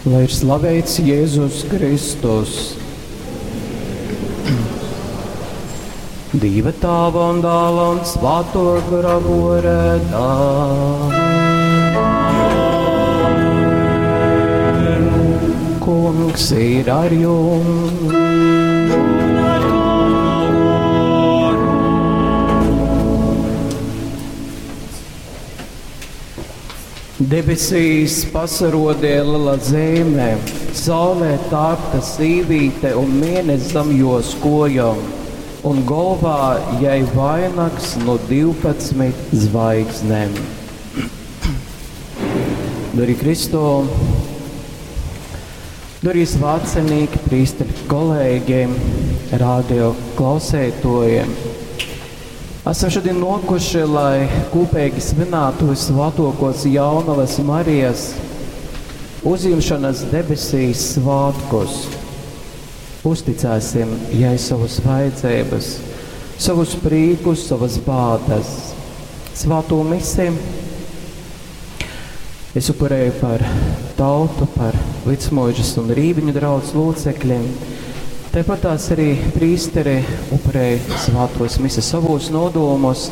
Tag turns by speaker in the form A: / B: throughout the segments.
A: Lai ir slaveits Jēzus Kristus. Dīva Tāva un Dāla un Svāto Gora vōrdā. Kungs ir ar jums. Debesīs pasarodēja lela zeime, saulē tārpta sīvīte un mēness zam jos kojom, un golvā jai vainags no 12 zvaigznēm. Dori Kristo, dori svātcenīki, prīsteri, kolēģi, radio klausētojiem. Esam šodien nokuši, lai kopīgi svinētu visvētākos jaunavas Marijas uzņemšanas debesīs svētkus. Uzticēsim jai savas vajadzības, savus priekus, savas bādas. Svēto misi es upurēju par tautu, par Vicmuižas un Rīviņu draudz locekļiem. Tāpat tās arī prīsteri upurēja svētos mises savos nodomos,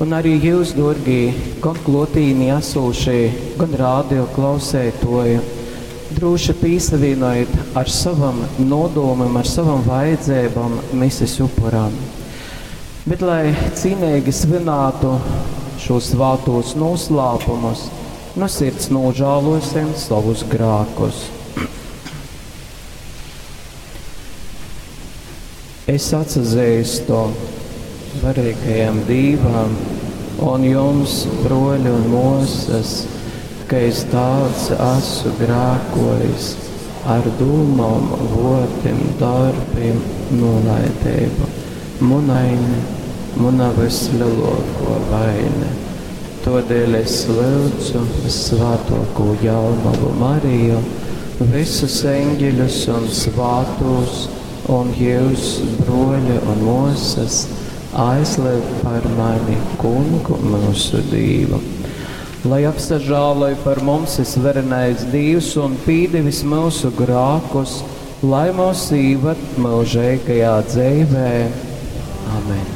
A: un arī jūs, dorgī, gan klotīni esošie, gan rādio klausētoji, droši pīsavīnojiet ar savam nodomam, ar savam vajadzībām mises upuram. Bet, lai cīnīgi svinētu šos svētos noslēpumus, no sirds nožēlosim savus grēkus. Es atsazīstu varīgajam Dīvam un jums, broļi un mosas, ka es daudz esmu grēkojis ar dūmām, votiem, darbiem, nolaidību. Munaine, muna vislielāko vaine. Todēļ es lūdzu svētoko jaunavu Mariju, visus eņģeļus un svātos, un jūs, broļi un mosas, aizliek par mani kungu mūsu Dievu. Lai apsažāloj par mums visvarenais Dievs un pīdevis mūsu grākus, lai mūs īvad mūžīgajā dzīvē. Amen.